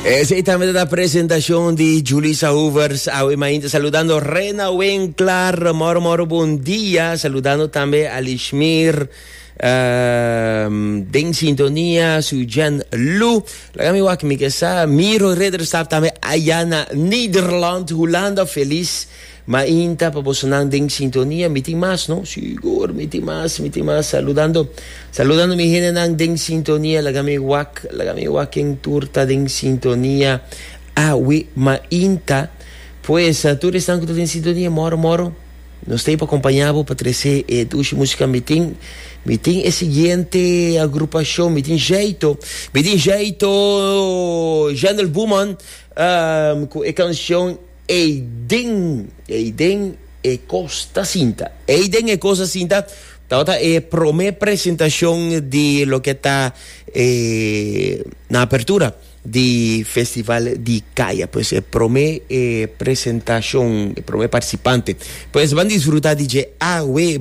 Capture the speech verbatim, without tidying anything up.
Esey tambe ta e presentacion di Julisa Hoovers. Awe mainta saludando Rena Winklar. Moro moro bon dia. Saludando tambe Alishmir. Um, den sintonia, Sujan Lu. Laga mi wak mi sa Miro Ridderstap tambe aya na Nederland, Hulanda, feliz mainta pa bosonan den sintonia. Mi tin mas, no? Sigur, mi tin mas, mi tin mas. Saludando, saludando mi hendenan den sintonia. Laga mi wak, laga mi wak ken tur ta den sintonia. Awe mainta. Pues, tur esnan ku den sintonia, moro moro. Nos t'ey pa acompaña pa trece eh, dushi musica. Mi tin, mi tin e siguiente agrupacion, mi tin jeito, mi tin jeito Jandel Buman um, cu e cancion Eiden, Eiden e Costa Cinta. Eiden e Costa Cinta, tabata e prome presentacion di loke ta eh, na apertura di Festival di Caya. Pues e prome eh, presentacion, prome participante. Pues ban disfruta di dje awe.